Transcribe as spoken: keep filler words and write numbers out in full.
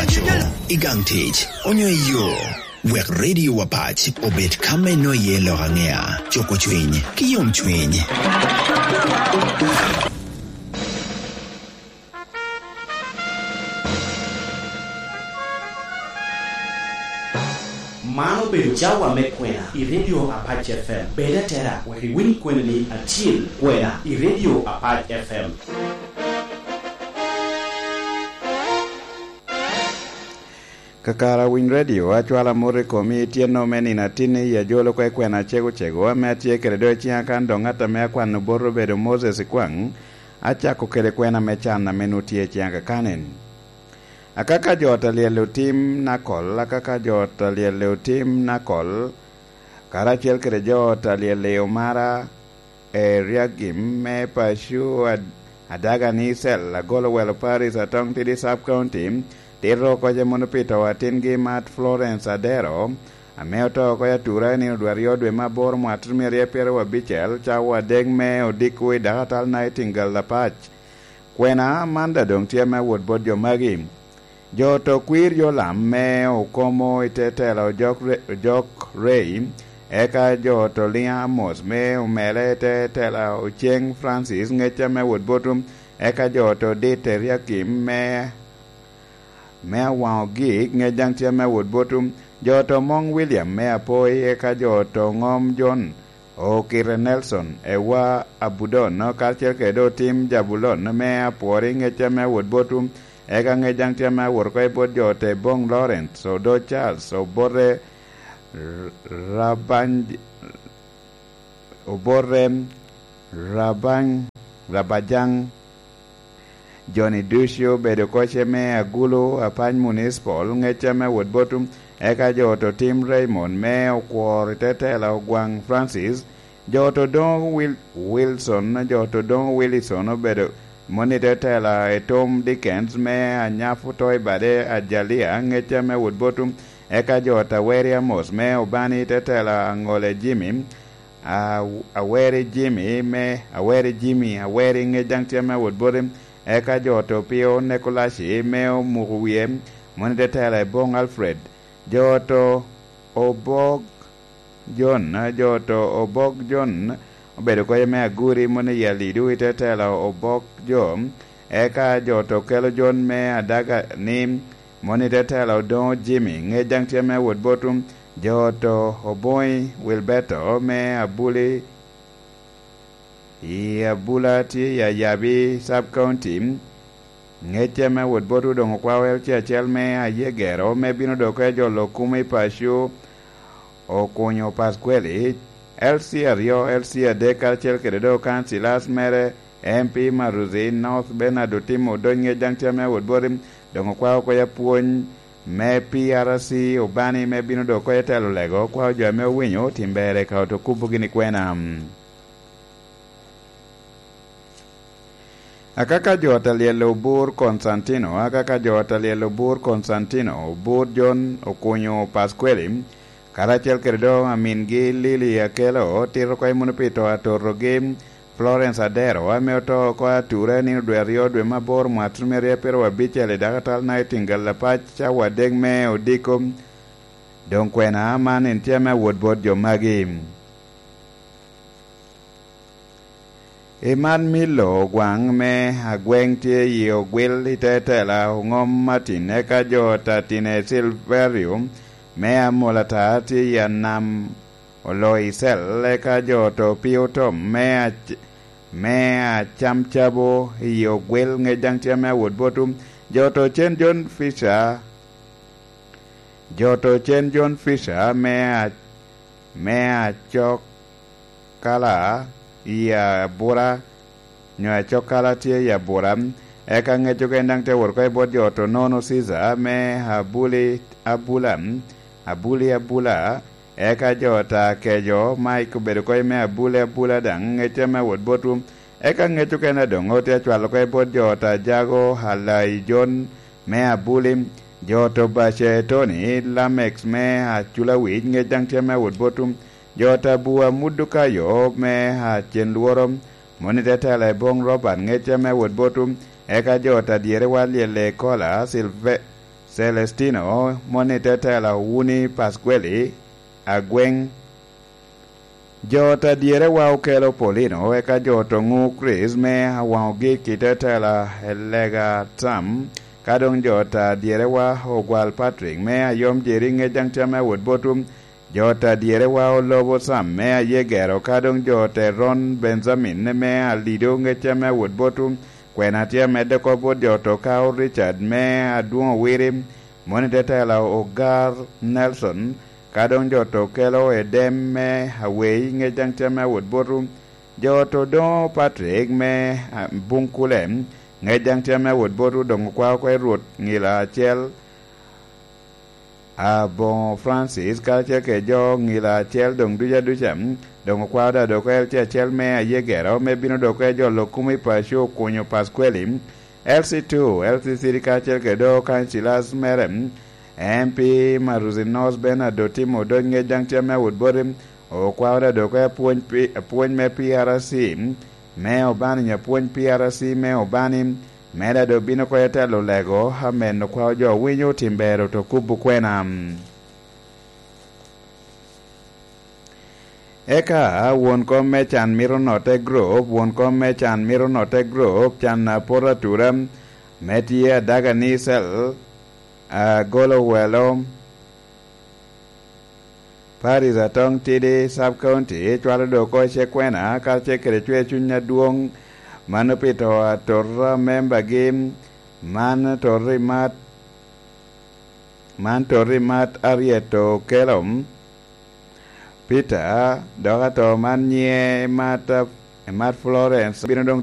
Aco, i gang tic, onyo i yo, wek Radio Wapac obed ka me noye lok angea, coko cwiny, ki yom cwiny. Man obedo cawa me kwena i Radio Apac F M. Bed atera wek iwiny kweni ni acil kwena i Radio Apac F M. Kakara Winy Radio, acwalo amot i komi, tyenno me nino atinni i ajolo kwe kwena acego cego ame atye kede do i ciŋa kan doŋ ŋat ame akwano bot obedo Moses Ikwaŋ, acako kede kwena me can ame nwoŋo tye i ciŋa kakanen. Akaka jo ot alyel otim nakol, akaka jo ot alyel otim nakol, karacel kede jo ot alyel i Omara, Eriagim me Pacu, Ad-, Adaga ni Cell, Agolo Welo Paris, Atong Tidi Sub County, tito oko ce mono pi to atingi mat Florence Adero, ame oto oko i atura i nino dwe aryo dwe me aboro mwaka tutumia aryo pyeraryo abicel, cawa adek me odiko i Dakatal Nightingale Apac. Kwena man daŋ doŋ tye me wot bot jo magi. Jo to kwir yo lam me okomo i te tela ojok re-, ojok rei, eka jo to liŋa Amos me omele i te tela Oceng Francis ŋecca me wot botum, eka jo to dit Eriakim me, me awaŋo gik ŋec daŋ tye me wot botum, jo to moŋ William me apoi, eka jo to ŋom John Okite Nelson, Ewa Abudon, karacel kede otim Jabulon me apwori ŋecca me wot botum, eka ŋec daŋ tye me awot oko i bot jo te boŋ Lawrence, Odo Charles, Obote R-, Rabany, Obote Rabany, Rabajaŋ, Joni ducu obedo koce me Agulu, Apany Municipal, ŋecca me wot botum, eka jo to tim Raymond me okwor i te tela Ogwaŋ Francis, jo to doŋo Wil-, Wilson, jo to doŋo Wilson obedo moni i te tela i Tom Dickens me Anyafu to i bade Ajalia, ŋecca me wot botum, eka jo to Aweri Amos me Obani i te tela Aŋole Jimmy, A-, Aweri Jimmy me, Aweri Jimmy, Aweri ŋec daŋ tye me wot bote, eka jo to Pio Nekolaci me omuko wie, moni te tela i boŋ Alfred, jo to Obok John, jo to Obok John obedo koca me Aguri, moni i Alidu i te tela Obok Jo, eka jo to kelo John me Adaga ni, moni te tela Odoŋo Jimmy, ŋec daŋ tye me wot botum, jo to Oboŋi Wilberto me Abuli, i Abula tye i Ayabi Sub County, ŋecce me wot bot Odoŋo Kwawel tye acel me Ayegero me bino dok e jolo kumo i paco, Okunyo Paskweli, L C aryo, L C adek, karacel kede do kancilas mere, M P Maruzi North Bernard Otimo Odony ŋec daŋ tye me wot boti, doŋ okwao oko apwony me P R C Obani me bino dok oko i telo lego, okwao jo ame owinyo tim ber eka oto kubo gini kwena. Akaka jo ot alyel obur Konstantino, akaka jo ot alyel obur Konstantino, obur John Okunyo Paskweli, karacel kede do amingi Lili Akelo, tito oko i Munipito atotogi, Florence Adero, ame oto oko ature nino dwe aryo dwe me aboro mwaka tutumia aryo pyeraryo abicel i Dakatal Nightingale Apac cawa adek me odiko. Doŋ kwena man en tye ame awot bot jo magi. I man Milo Ogwaŋ me Agweŋ tye i Ogwil i te tela Oŋom Martin, eka jo Tatine Silverio me Amolata tye i Anam Oloicel, eka jo to Pio Tom me Ac-, me Acamcabo i Ogwil ŋec daŋ tye ame awot botu, jo to Cen John Fisher, jo to Cen John Fisher me A-, me Acok kala i abura, nyo acokala tye i abura, eka ŋec ogen daŋ te wot oko i bot jo to Nono Cica me Abuli Abula, Abuli Abula, eka jo ta kejo Mike obedo oko i me Abuli Abula daŋ ŋecce me wot botwu, eka ŋec okene doŋ otye acwalo oko i bot jo ta Jago Halai Jon me Abuli, jo to Bace Tony Lamex me Aculawic ŋec daŋ tye me wot botwu, jo ta Bua Mudukayo me Acen Lworo, moni te tela i boŋ Robert ŋecce me wot botwu, eka jo ta dyere wa lyelle Kola Silve-, Celestino, moni te tela Wuni Pasqueli, agweng. Jo ta dyerewa okelo Paulino, eka jo to ŋu Chris me awaŋo gik i te tela Elega Tam, ka doŋ jo ta dyerewa ogwal Patrick me ayom jeri ŋec daŋ tye ame awot botu. Jo ta dyerewa olobo Sam me aye gero, ka doŋ jo te ron Benjamin me alido ŋec tye ame awot botu. Kwena tye amedde kop bot jo to ka o Richard me adwoŋ owiri, moni te tela Ogar Nelson, ka doŋ jo to kelo Edem me awei ŋec daŋ tye ame awot botu. Jo to doŋo Patrick me, ah, Bunkule, ŋec daŋ tye ame awot botu, doŋ okwao oko i Rwot ŋila acel, aboŋo Francis, karacel kede jo ŋila acel doŋ duca duca, doŋ okwao da dok L C acel me aye gero, me bino dok e jolo kum i paco okunyo Pasqueli, L C two, L C three karacel kede do Councillors mere, M P Maruzi North Bernard Otimo Odony ŋec daŋ tye ame awot boti, okwao da dok e apwony pi-, apwony me P R C, me Obani, apwony P R C me Obani, me da dok bino oko i telo lego, amen okwao jo winyo tim ber oto kubo kwena. Eka won kom me can mito note group, won kom me can mito note group, can a poto atura, me tye adaga ni cell, a golo welo, Paris Atong Tidi Sub County, cwalo do oko i Cekwena, karacel kede cwer cuny adwoŋ, mano pi to atota membagi, man to rimat, man to rimat Harriet Okello, Peter, dok ato man nyiŋe Emat, Emat Florence, bino doŋ